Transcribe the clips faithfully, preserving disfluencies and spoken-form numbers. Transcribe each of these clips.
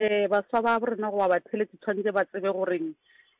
Um baswa ba rena goba batheeletši tshwanetse ba tsebe goreng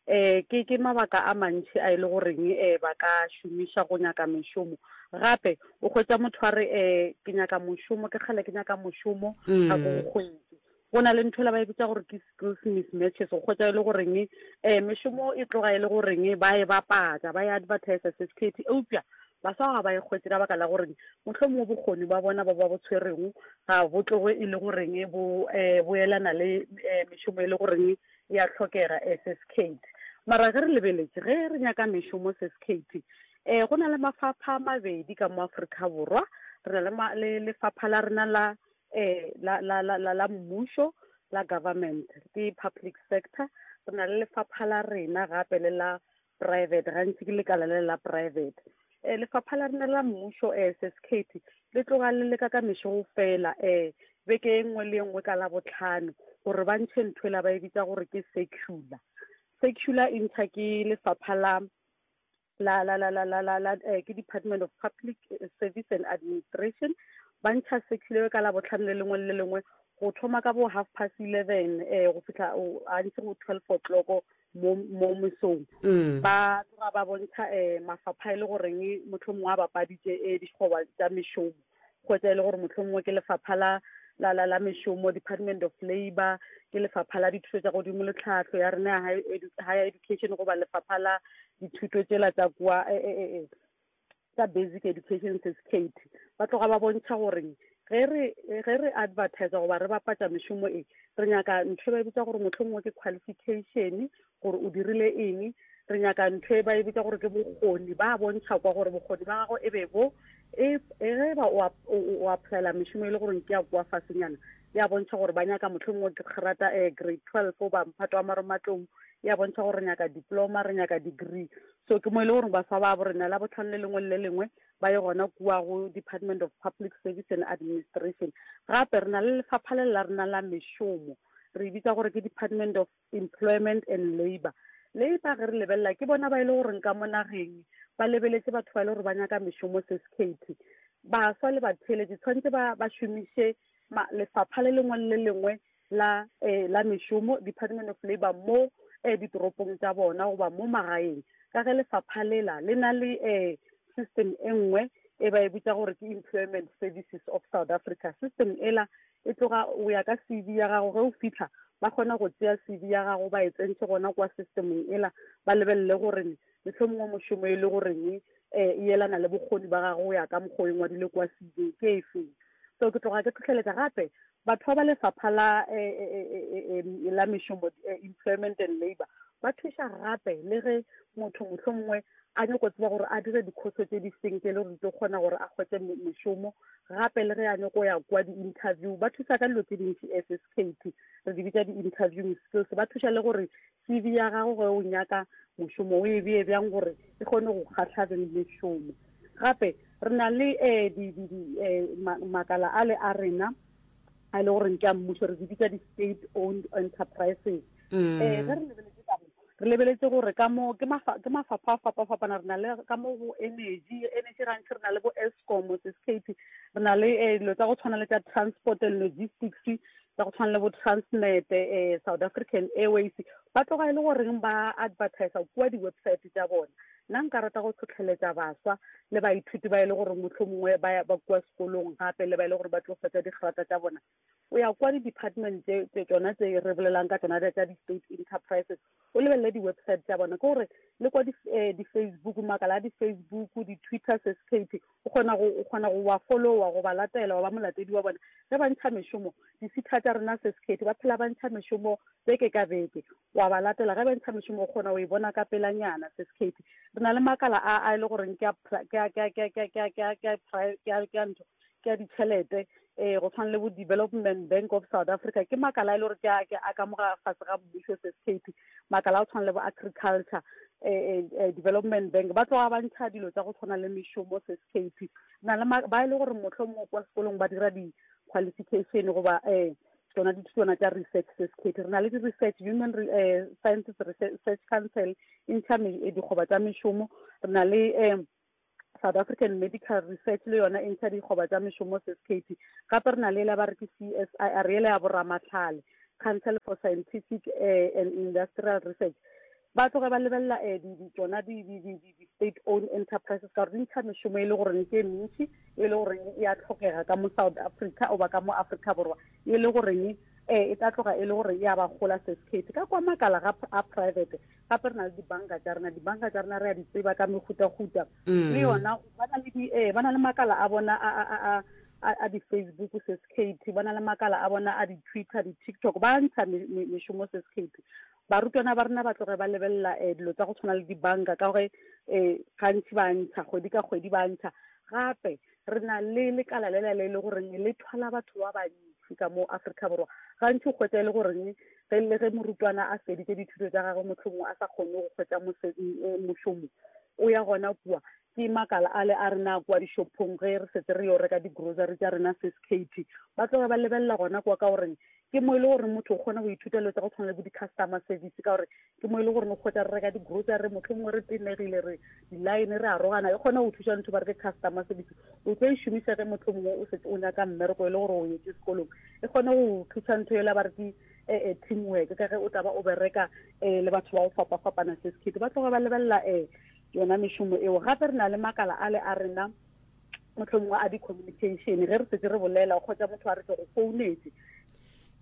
um ke ke mabaka a mantši a e le goreng um ba ka šomiša go nyaka mešomo. Gape o hwetša motho a re um ke nyaka mošomo, ke kgale ke nyaka mošomo ga ke o hwetše. Go na le ntho ela ba e bitša gore ke skills mismatches, go hwetša e le goreng um mešomo e tloga e le goreng ba e bapatša, ba e advertisa certificate, eupša baswa ga ba e hwetše ka baka la gore mohlomongwe bokgoni ba bona ba ba bo tshwerego ga bo tloge e le goreng bo um boelana le um mešomo e le goreng ya hlokega S S K. Mara ge re lebeletše, ge re nyaka mešomo S S K, um go na le mafapha a mabedi ka mo Afrika Borwa. Re na le lefapha la rena la um la la la la la mmušo, la government, ke public sector. Re na le lefapha la rena gape le la private, gantši ke lekala le la private. um lefapha la rena la mmušo, S S K, le tloga le leka ka mešogo fela um beke e nngwe le e nngwe ka la botlhano gore ba ntšhe ntho ela ba e bitsa gore ke circular. Circular e ntšha ke lefapha la la la la la la la la eh, ke Department of Public Service and Administration. Ba ntšha circular ka la botlhano le lengwe le lengwe go thoma ka bo half past eleven eh go fihla gantši go twelve o'clock mo mo mesong. Mm. Ba tloga ba bontšha um mafapha e le goreng mohlomongwe a bapaditše um dikgoba tša mešomo, kgwetsa e le gore mohlomongwe ke lefapha la la la la mešomo, Department of Labor, ke lefapha la dithuto tša godimo le tlhahlo ya rena ya higher education, goba lefapha la dithuto tšela tša kua eh, tsa basic education certificate. Ba tloga ba bontšha gore ge re ge re advertise goba re bapatša mešomo e, re nyaka ntho e ba e bitsa gore mohlomongwe ke qualification, gore o dirile eng. Re nyaka ntho e ba e bitsa gore ke bokgoni, ba bontšha kwa gore bokgoni ba gago e be bo e ge ba o applyela mešomo e le gore ke ya kwa fasenyana, ya bontšha gore ba nyaka mohlomongwe ke grata um grade twelve goba mphato wa marematlou, ya bontšha gore re nyaka diploma, re nyaka degree. So ke mo e le gore baswa ba bo rena la botlhano le lengwe le le lengwe ba ye gona kua go Department of Public Service and Administration. Gape re na le lefapha le la rena la mešomo, re e bitsa gore ke Department of Employment and Labour. Labour ge re lebelela, ke bona ba e le goreng ka mo nageng ba lebeletse batho ba e le gore ba nyaka mešomo. Seskate, baswa le batheeletši tshwanetse ba ba šomiše lefapha le lengwe le lengwe la eh, la mešomo, Department of Labour, mo eh, ditoropong tša bona goba mo magaeng, ka ge lefapha lela le na le eh, system e nngwe e ba e bitsa gore ke Employment Services of South Africa. System ela e tloga o ya ka C V ya gago, ge o fitlha ba kgona go tšea C V ya gago, ba e tsentšhe gona kwa systemeng ela, ba lebelele gore mohlomongwe mošomo e le goreng um e elana le bokgoni ba gago go ya ka mokgwa o e ngwadile kwa C V ke e feng. So ke tloga ke tlhotlheletša gape batho ba ba lefapha la la mešomo, Employment and Labour. Ba thuša gape le ge motho mohlomongwe a nyako tseba gore a dire dikhoso tše di feng tše e le gore di tlo kgona gore a kgwetse mešomo, gape le ge a nyako ya kwa di-interview. Ba thusa ka dilo tse dintši S S K T, re di bitša di-interviewing skills. Ba thuša le gore C V ya gago ge o nyaka mošomo o e bee bjang gore e kgone go kgahla beng mešomo. Gape re na le um makala a le a rena a e le goreng ke a mmušo, re di bitša di-state owned enterprises. um ge re lebeletse ka re lebeletse gore ka mo ke mafapha a fapa-fapana. Re na le ka mo go energy, energy gantši re na le bo Eskom, S S K T. Re na le dilo tsa go tshwana le tša transport and logistics, tsa go tshwana le bo Transnet, um South African Airways. Ba tloga e le goreng ba advertisa kua di-website tša bona. Nna nka rata go tlhotlheletša baswa le baithuti ba e le gore mohlomongwe ba ba kua sekolong, gape le ba e le gore ba tlo fetsa digrata tša bona, o ya kwa di-department tše tsona tse re bolelang ka tsona tša di-state enterprises, o lebelele di-website tša bona, ke gore le kwa di-Facebook, makala a di-Facebook, di-Twitter, S S K T, o kgona go o kgona go ba followa go ba latela, wa ba molatedi wa bona ge ba ntšha mešomo. Di-SETA tša rena, S S K T, ba phela ba ntšha mešomo beke ka beke, wa ba latela ge ba ntšha mešomo, o kgona go e bona ka pelanyana. S S K T, re na le makala a a e le goreng ke a ntho ke a ditšhelete, um go tshwana le bo Development Bank of South Africa, ke makala a e le gore ke a ka moga fase ga mmušo. S S K T, makala a go tshwana le bo Agriculture um Development Bank, ba tloga ba ntšha dilo tsa go tshwana le mešomo. S S K T, na le ba e le gore mohlomongwe kwa sekolong ba dira di-qualification goba um tsona dithutwana tša research. S S K T, re na le di-research, Human Sciences Research Council e ntšha dikgoba tša mešomo. Re na le um South African Medical Research, le yona e ntšha dikgoba tša mešomo. S S K T, gape re na le la ba re ke C S I R, ele ya boramatlhale. Council for Scientific eh, and Industrial Research. Ba tloge ba lebelela eh, di di tsona di di di di state owned enterprises, ka gore di ntšha mešomo e le goreng ke e mentši, e le goreng e a tlhokega ka mo South Africa oba ka mo Africa Borwa, e le goreng eh e tla tloga e le gore ya ba gola. Seskate ka kwa makala ga a private. Gape re na le dibanka tša rena. Dibanka tša rena re a di tseba ka mehutahuta, le yona ba na le di eh ba na le makala a bona a a a a a di-Facebook, seskate. Ba na le makala a bona a di-Twitter, di-TikTok, ba ntsha mešomo, seskate. Barutwana ba rena ba tloge ba lebelela um dilo tsa go tshwana le dibanka, ka gore um gantši ba ntsha kgwedi ka kgwedi, ba ntsha. Gape re na le lekala lela le le goreng le thwala batho ba bantši ka mo Afrika Borwa. Gantši o kgwetsa e le goreng ge le ge morutwana a feditse dithuto tša gagwe, mohlomongwe a sa kgone go kgwetsa mošomo, o ya gona kua. Ke makala a le a rena kua dishopong, ge re setse re yo reka di-grocery tša rena, seskate. Ba tloge ba lebelela gona kua, ka goreng ke mo e le gore motho o kgona go ithuta dilo tsa go tshwana le bo di-customer service, ka gore ke mo e le gore o kgwetsa re reka di-grocery, motlho mongwe re tenegile, re di-line re arogana, e kgona go thuša ntho ba re ke customer service. O tlo e šomiša ge motlho mongwe o setse o nyaka mmereko, e le gore o etse sekolong, e kgone go thuša ntho ela ba re ke um team work, ka ge o tla ba o bereka um le batho ba go fapa-fapana, seskate. Ba tloga ba lebelela um yona mešomo eo. Gape re na le makala a le a rena, motlho mongwe a di-communication, ge re setse re bolela, o kgotsa motho a re ke go founetse.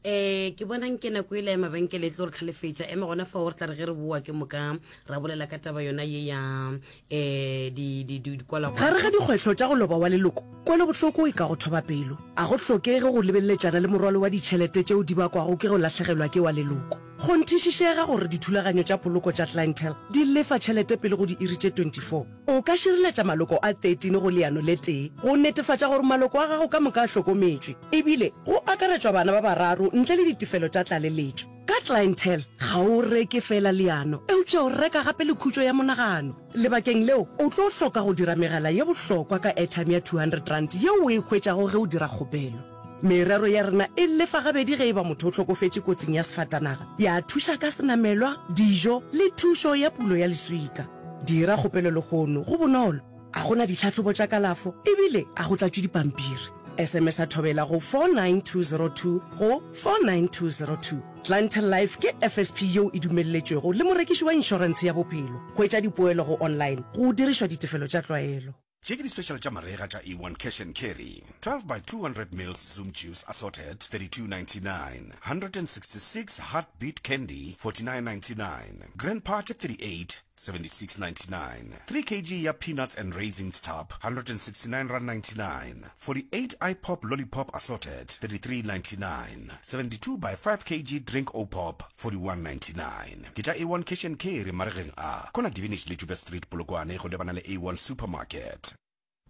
um ke bonang ke nako e le ya mabenkele e tlo re tlhalefetša. Ema gona fao, re tla re ge re boa ke moka ra bolela ka taba yona ye ya um dikwalwa. Gare ga dikgwetlho tša go loba wa leloko, kwelobohloko e ka go thoba pelo. A go hlokege go lebeleletšana le morwalo wa ditšhelete tšeo di bakwago ke go lahlegelwa ke wa leloko. Kgonthišišega gore dithulaganyo tša poloko tša Clientele di lefa tšhelete pele go diiri tše twenty-four. O ka šireletša maloko a thirteen go leano le tee go netefatša gore maloko a gago ka moka a hlokometšwe, ebile go akaretšwa bana ba bararo ntle le ditefelo tša tlaleletšo. Ka Clientele ga o reke fela leano, eupša o reka gape le khutšo ya monagano. Lebakeng leo o tlo hloka go dira megala ye bohlokwa ka airtime ya two hundred rand yeo o e hwetšago ge o dira kgopelo. Merero ya rena e lefa gabedi ge e ba motho o hlokofetše kotsing ya sefatanaga, ya thuša ka senamelwa, dijo le thušo ya pulo ya leswika. Dira kgopelo lehono, go bonolo, a gona ditlhahlobo tša kalafo, ebile a go tlatšwe dipampiri. S M S a thobela go four nine two zero two go four nine two zero two. Clientele Life ke F S P yeo e dumelletšwego le morekiši wa inšorentshe ya bophelo. Hwetša dipoelo go online go dirišwa ditefelo tša tlwaelo. Tše ke di-special tša marega tša A one Cash and Carry: twelve by two hundred mils Zoom juice assorted, thirty-two ninety-nine; one hundred sixty-six Heartbeat candy, forty-nine ninety-nine; Grand Party thirty-eight, seventy-six ninety-nine; three kilograms ya peanuts and raisins tub, one hundred sixty-nine rand ninety-nine; forty-eight iPop lollipop assorted, thirty-three ninety-nine; seventy-two by five kilograms drink o pop, forty-one ninety-nine. Ke tša A one Cash and Carry maregeng a kona Divinage le Joubert Street, Polokwane, go lebana le A one Supermarket.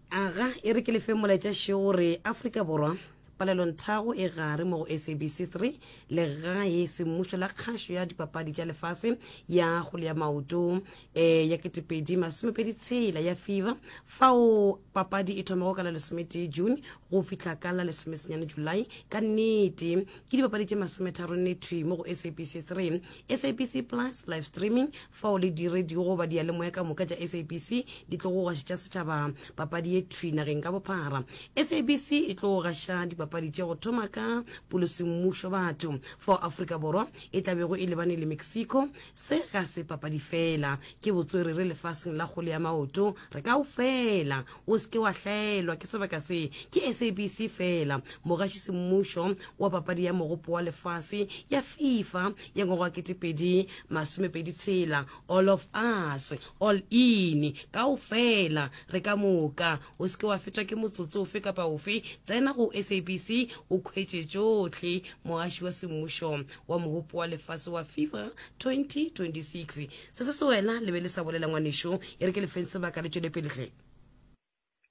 Aga e re ke lefe molaetša šeo gore Afrika Borwa palelonthago e gare mo go S A B C three, legae semmušo la kgašo ya dipapadi tša lefase ya kgole ya maoto um ya ketepedi masomepedi tshela ya FIFA, fao papadi e thomago ka la lesometee June go fihla ka la lesomesenyane July. Ka nnete ke dipapadi tše masometharo-nne thwi mo go S A B C three, S A B C Plus live streaming, fao le di-radio goba diyalemoya ka moka tša S A B C di tlo go gašetša setšhaba papadi ye thwi nageng ka bophara. S A B C e tlo gaša dipapadi tše go thoma ka polosemmušo batho, fao Afrika Borwa e tla bego e lebane le Mexico. Se ga se papadi fela, ke botswerere lefaseng la kgole ya maoto. Re ka o fela, o seke wa hlaelwa ke sebaka se. Ke S A B C fela mogaši semmušo wa papadi ya mogopo wa lefase ya FIFA ya ngwaga wa ketepedi masomepedi tshela. All of us, all in, kaofela re ka moka. O seke wa fetwa ke motsotso ofe kapa ofe. Tsena go S A B C o khwetše tšohle. Mogaši wa semmušo wa mogopo wa lefase wa FIFA twenty twenty-six. Se se se wena le be le sa bolela, ngwanešo, e re ke lefeng sebaka le tšwele pele hle.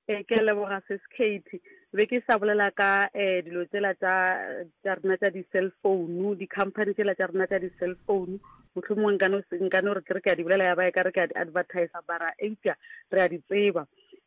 Ee, ke a leboga, sis Kate. Be ke sa bolela ka um dilo tsela tša tša rena tša di-cell phone, di-company tsela tša rena tša di-cell phone. Mohlomongwe nka no se- nka no re ke re ke a di bolela, ya ba e ka re ke a di advertise, bara eupša re a di tseba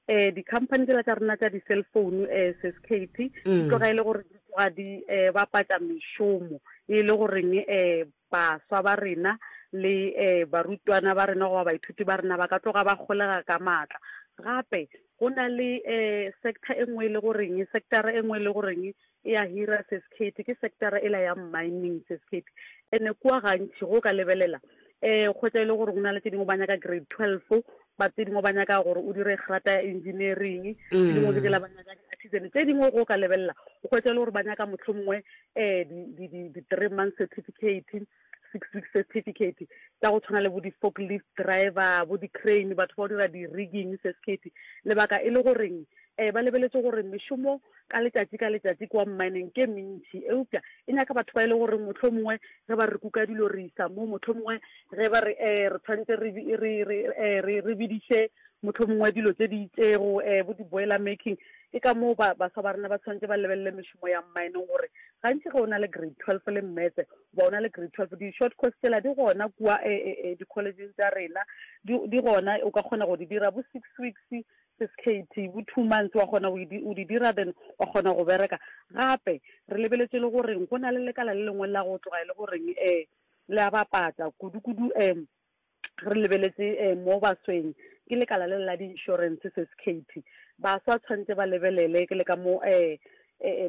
um di-company tsela tša rena tša di-cell phone, um sis Kate, di Mm. tloga e le gore di tloga di um bapatša mešomo, e le goreng um baswa ba rena le um barutwana ba rena goba baithuti ba rena ba ka tloga ba kgolega ka maatla. Gape Go na le um sector e nngwe e le goreng, sectora e nngwe e le goreng e a hira Sis Kate, ke sectora ela ya mining Sis Kate. Ene kua gantši go ka lebelela um kgwetsa e le gore go na le tse dingwe ba nyaka grade twelve, ba tse dingwe ba nyaka gore o dire grata ya engineering, tse dingwe ke tsela ba nyaka di-artisan, tse dingwe go ka lebelela o kgwetsa e le gore ba nyaka mohlomongwe um di-three month certificate, six week certificate tša go tshwana le bo di-forklift driver, bo di-crane, batho ba go dira di-rigging Sis Kate. Lebaka e le goreng um ba lebeletse gore mešomo ka letšatši ka letšatši kwa mining ke mentši, eupša e nyaka batho ba e le gore mohlomongwe ge ba re kuka dilo re isa mo, mohlomongwe ge ba re um re tshwanetse re re bediše mohlomongwe dilo tše di itšego um bo di-boiler making. Ke ka moo baswa ba rena ba tshwanetse ba lebelele mešomo ya mining, gore gantši ge o na le grade twelve le mmetse goba o na le grade twelve, di-short course tsela di gona kua di-collegeng tša rena, di gona, o ka kgona go di dira bo six weeks Sis Kate, bo two months wa kgona go di dira, then wa kgona go bereka. Gape re lebeletse le goreng go na le lekala le lengwe la go tloga e le goreng um le a bapatsa kudu-kudu, um re lebeletse um mo basweng, ke lekala le la di-insurance Sis Kate. Baswa tshwanetse ba lebelele ke le ka mo um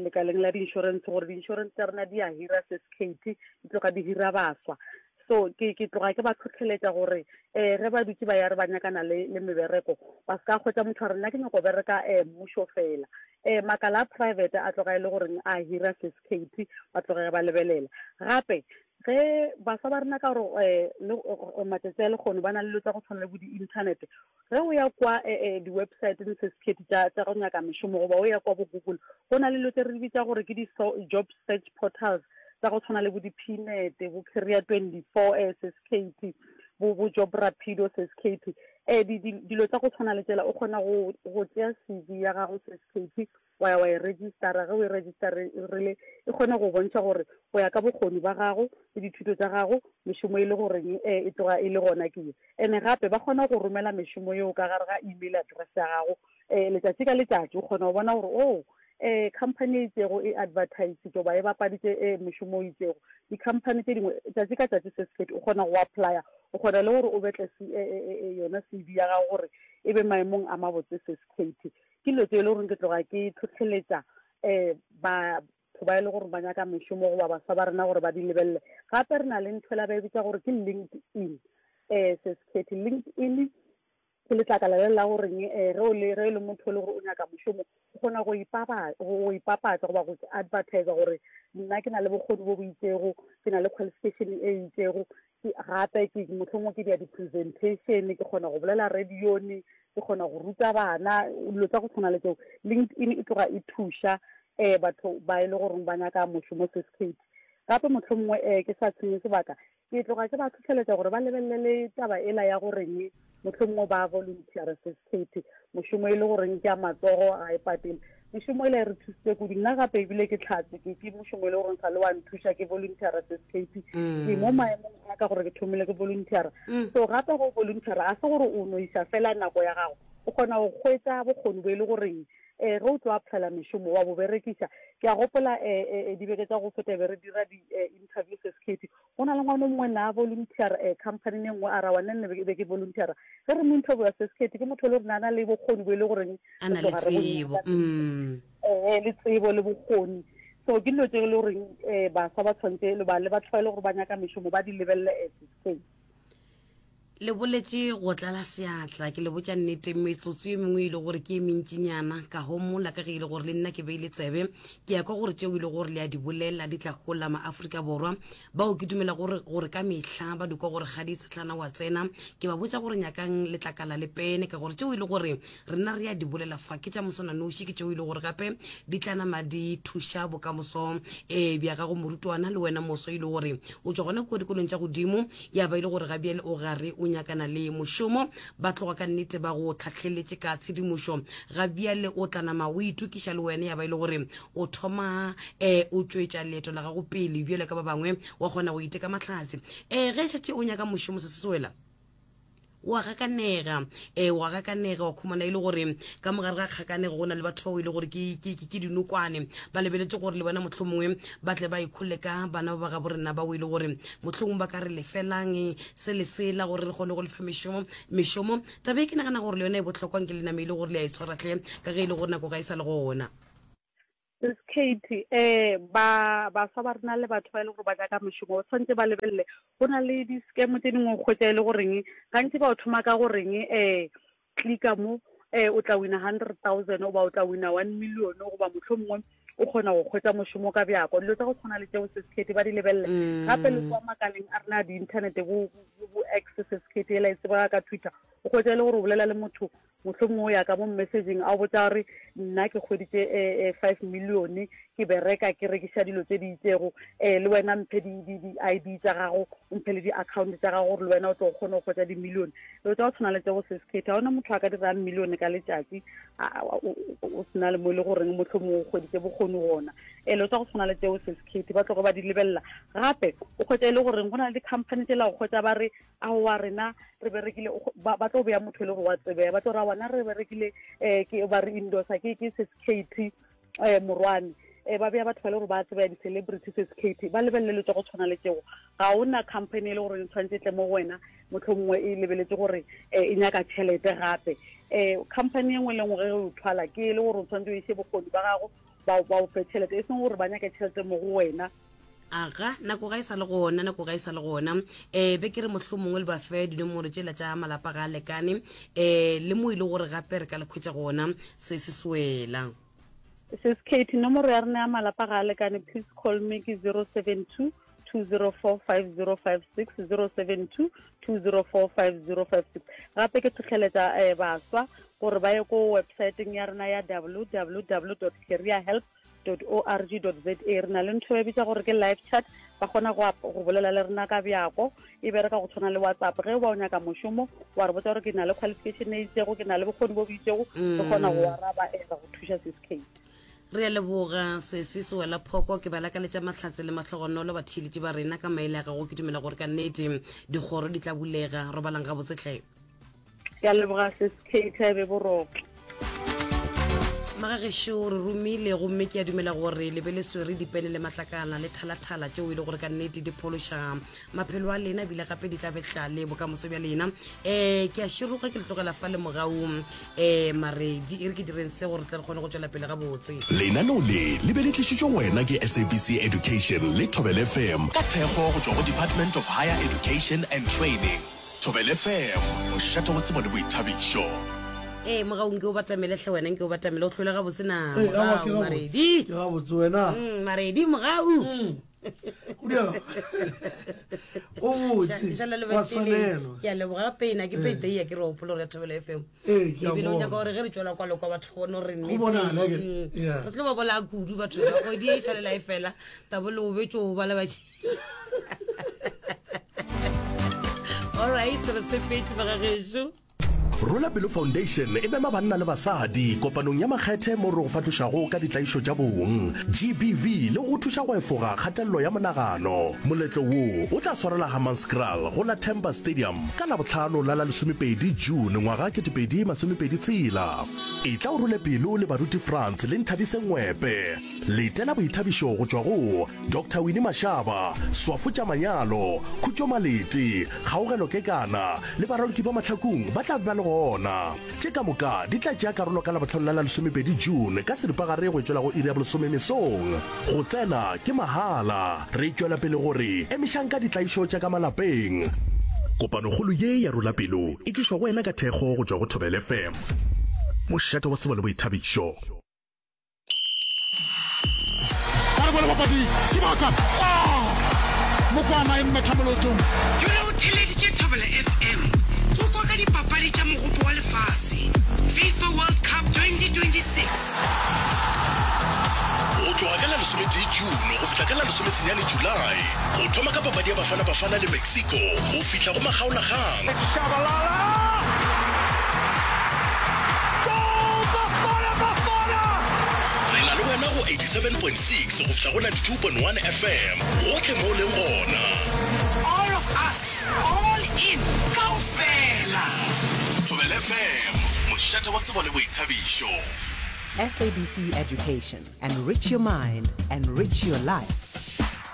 lekaleng la di-insurance gore di-insurance tša rena di a hira Sis Kate, di tloga di hira baswa. So ke ke tloga ke ba tlhotlheletša gore um ge ba dutse ba ya re ba nyakana le le mebereko, ba se ka kgwetsa motho a re nna ke nyako bereka um mmušo fela. Um makala a private a tloga e le goreng a hira Sis Kate, ba tloge ba lebelela. Gape ge baswa ba rena ka gore um matšatši a lekgono ba na le dilo tsa go tshwana le bo di-internet, ge o ya kwa di-websiteng Sis Kate tša go nyaka mešomo, goba o ya kwa bo Google, go na le dilo tse re di bitsa gore ke di-job search portals tsa go tshwana le bo di-Pnet, bo Career twenty-four Sis Kate, bo bo Job Rapido Sis Kate. Um dilo tsa go tshwana le tsela o kgona go go tšea C V ya gago Sis Kate, wa ya wa e registera. Ge o e registerile e kgona go bontšha gore go ya ka bokgoni ba gago le dithuto tša gago mešomo e le goreng um e tloga e le gona ke ye. Ene gape ba kgona go romela mešomo yeo ka gare ga email address ya gago um letšatši ka letšatši, o kgona go bona gore oh um company e itšego e advertise goba e bapaditše um mešomo o itšego. Di-company tše dingwe tšatši ka tšatši Sis Kate o kgona go applya, o kgona le gore o betle yona C V ya gago gore e be maemong a mabotse Sis Kate. Ke dilo tse e le goreng ke tloga ke tlhotlheletša um batho ba e le gore ba nyaka mešomo goba baswa ba rena gore ba di lebelele. Gape re na le ntho ela ba e bitsa gore ke LinkedIn um Sis Kate. LinkedIn ke letlakala le la goreng um ge o le ge e le motho e le gore o nyaka mošomo, o kgona go go ipapatsa goba go advertise gore nna ke na le bokgoni bo bo itšego, ke na le qualification e itšego, gape ke mohlomongwe ke dia di-presentation, ke kgona go bolela radione, ke kgona go ruta bana, dilo tsa go tshwana le tseo. LinkedIn e tloga e thuša um batho ba e le goreng ba nyaka mošomo Sis Kate. Gape mohlomongwe um ke sa tshenye sebaka, ke tloga ke ba tlhotlheletša gore ba lebelele taba ela ya goreng mohlomongwe ba volunteer Sis Kate, mošomo e le goreng ke a matsogo ga e patele. Mešomo ela e re thusitse kudu, nna gape ebile ke tlhatse ke ke mošomo e le goreng sa le wa nthuša ke volunteer Sis Kate. Ke mo maemong a ka gore ke thomile ke volunteer. So gape go volunteer a se gore o no isa fela nako ya gago, o kgona go hwetša bokgoni bo e le goreng um ge o tlo applyela mešomo wa bo berekiša. Ke a gopola um dibeke tša go feta be re dira di-interview Sis Kate, go na le ngwana o mongwe na volunteer um company e nngwe a ra wa nne be ke volunteera. Ge re mo interviewa Sis Kate, ke motho e le gore na na le bokgoni bo e le goreng a na le tsebo, um le tsebo le bokgoni. So ke dilo tse e le goreng um baswa ba tshwanetse le ba le batho ba e le gore ba nyaka mešomo ba di lebelele Sis Kate. Le boletše go tlala seatla, ke le botša nnete, metsotso ye mengwe e le gore ke e mentšinyana ka homola ka ge e le gore le nna ke beile tsebe, ke ya kwa gore tšeo e le gore le a di bolela di tla hola maAfrika Borwa bao ke dumela gore gore ka mehla ba dikwa gore ga di tshetlana wa tsena. Ke ba botša gore nyakang letlakala le pene, ka gore tšeo e le gore rena re a di bolela fa ke tša moswananoši, ke tšeo e le gore gape di tla nama di thuša bokamoso um bja gago morutwana le wena moso e le gore o tšwa gona kua dikolong tša godimo, ya ba e le gore ga bjale o gare o nyakana le mošomo, ba tloga ka nnete ba go tlhahleletše ka tshedimošo. Ga bjale o tla nama o itokiša le wena, ya ba e le gore o thoma um o tšwetša leeto la gago pele bjale ka ba bangwe, wa kgona go iteka mahlatse. Um ge šetše o nyaka mošomo se se wela, Wa gakanega, um wa gakanega, wa khumana e le gore ka mogare ga kgakanego go na le batho bao e le gore ke, ke, ke, ke dinokwane, ba lebeletše gore le bona mohlomongwe ba tle ba ikholle ka bana ba ba gabo rena bao e le gore mohlomongwe ba ka re lefelang se le sela gore re kgone go lefa mešomo mešomo. Taba e ke nagana gore le yona e bohlokwa, nke le name e le gore le a e tshwara hle, ka ge e le gore nako ga e sa le gona. Sis Katie, eh ba baswa ba rena le batho ba e le gore ba nyaka mešomo ba tshwanetse ba lebelele go na le di-scam tse dingwe o kgwetsa e le goreng gantši ba o thoma ka goreng um clicka mo um o tla wina hundred thousand goba o tla wina one million goba mohlomongwe o kgona go kgwetsa mošomo ka bjako. Dilo tsa go tshwana le tseo, Sis Katie, ba di lebelele. Gape le kwa makaleng a rena a di-internet, bo bo X, Sis Katie, ela e tsebega ka Twitter, o kgwetsa e le gore o bolela le motho mohlomongwe o ya ka mo messaging a o botsa gore nna ke kgweditše um five million, ke bereka ke rekiša dilo tse di itsego, um le wena mphe di-I D tsa gago, o mphe le di-account tsa gago gore le wena o tlo kgone go kgwetsa di-million. Dilo tsa go tshwana le tseo, Sis Katie, ga ona motho a ka dirang million ka letšatši o sena le mo e le goreng mohlomongwe o kgweditše bokgoni gona. um Dilo tsa go tshwana le tseo, Sis Katie, ba tloge ba di lebelela. Gape o kgwetsa e le goreng go na le di-company tsela go kgwetsa ba re aowa rena re berekile, ba tlo beya motho e le gore wa tsebea, ba tlo ra wana re berekile um ke ba re endorsa ke ke Sis Katie um Morwane, um ba beya batho ba le gore ba tsebea di-celebrity, Sis Katie, ba lebelele tsa go tshwana le tseo. Ga ona company e le gore e tshwanetse e tle mo go wena mohlomongwe e lebeletse gore um e nyaka tšhelete. Gape um company e nngwe le nngwe ge o thwala ke e le gore o tshwanetse o ise bokgoni ba gago ba o fe tšhelete, e seng gore ba nyake tšhelete mo go wena. Aga, nako ga e sa le gona, nako ga e sa le gona. um be ke re mohlomongwe le ba fe dinomoro tšela tša malapa ga a lekane, um le mo e le gore gape re ka le khwetša gona se se swela. Sis Katie, nomoro ya rena ya malapa ga a lekane, please call me, ke zero seven two two zero four five zero five six, zero seven two two zero four five zero five six. Gape ke tlhotlheletša um baswa gore ba ye ko websiteng ya rena ya W W W dot career help dot org dot za. Re na le ntho e bitsa gore ke live chat, ba kgona go go bolela le rena ka bjako, e bereka go tshwana le WhatsApp. Ge ba o nyaka mošomo, wa re botsa gore ke na le qualification e itsego, ke na le bokgoni bo bo itsego, re kgona go araba, e ra go thuša, Sis Katie. Re a leboga, sesi Sewela Phoko. Ke ba lakaletša mahlatse le mahlogonolo batheeletši ba rena ka maele a gago. Ke dumela gore ka nnete dikgoro di tla bulega. Robalang gabotse tlhe. Ke a leboga, Sis Katie, be boroko. Magagešo, re romile gomme ke a dumela gore le be le swere dipene le matlakala le thalathala tšeo e le gore ka nnete di phološa maphelo a lena, ebile gape di tla betla le bokamoso bja lena. um ke a široga, ke le tlogela fa le mogau um Maredi. E re ke direng se gore tle re kgone go tšwela pele gabotse. Lenaneo le le be le tlišitšwe go wena ke S A B C Education le Thobel F M ka thekgo go tšwa go Department of Higher Education and Training. Thobel F M, mošate wa tsebo le boithabišo. Ee, mogau, nke o batamele hle wena, nke o batamele, o tlhole gabotse na? Ee, aowa, ke mogau gabotse. Maredi. Ke gabotse, wena? Mm, maredi mogau. Go diega. O botse. Šala le wa batheeletši. Tshwanelwa. Ke a leboga pena ke payday, ke re gopola gore ya Thobela F M. Ee, ke a ebile o bona. nyaka gore ge re tswela kwa le kwa batho bone gore Go bonala, ke- Mm. yeah. Re tlo ba bolaya kudu batho ba kgwedi e šalela e fela, tabo le obetse o bala batši. Alright, re sepetse bagagešo. Rola Pelo Foundation e mema banna le basadi kopanong ya makgethe mo re go fahlošago ka ditlaišo tša bong G B V le go thuša go efoga kgatelelo ya monagano. Moletlo wo o tla swarela Hammanskraal go la Temba Stadium ka Labohlano la la lesomepedi June ngwaga kete pedi masomepedi tshela. E tla o role pelo le baruti France le Nthabise Ngwepe. Letela boithabišo go tšwa go Doctor Winnie Mashaba, Swafo tša Manyalo, Khutšo Malete, Kgaogelo Kekana le baraloki ba Mahlakung ba tla be ba le gona. Tše ka moka di tla tšea karolo ka Labohlano la la lesomepedi June ka seripagare go tšwela go iri ya bolesome mesong. Go tsena ke mahala. Re tšwela pele gore emišang ka ditlaišo tša ka malapeng. Kopanokgolo ye ya Rola Pelo e tlišwa go wena ka thekgo go tšwa go Thobel F M, mošate wa tsebo le boithabišo. Ba re bone bapadi sebaka mokwana e mmetha molotong. Dula o theleditše Thobela F M go kwa ka dipapadi tša mogopo wa lefase, FIFA World Cup twenty twenty-six. Go tloga ka la lesometee June go fihla ka la lesomesenyane July, go thoma ka papadi ya Bafana Bafana le Mexico go fihla go makgaolakgang. Shabalala! Goal! Bafana Bafana! Re na le wena go eighty-seven point six go fihla go ninety-two point one F M gohle mo o leng gona. All of us, all in, kaofela. F M, mošate wa tsebo le boithabišo. S A B C Education, enrich your mind, enrich your life.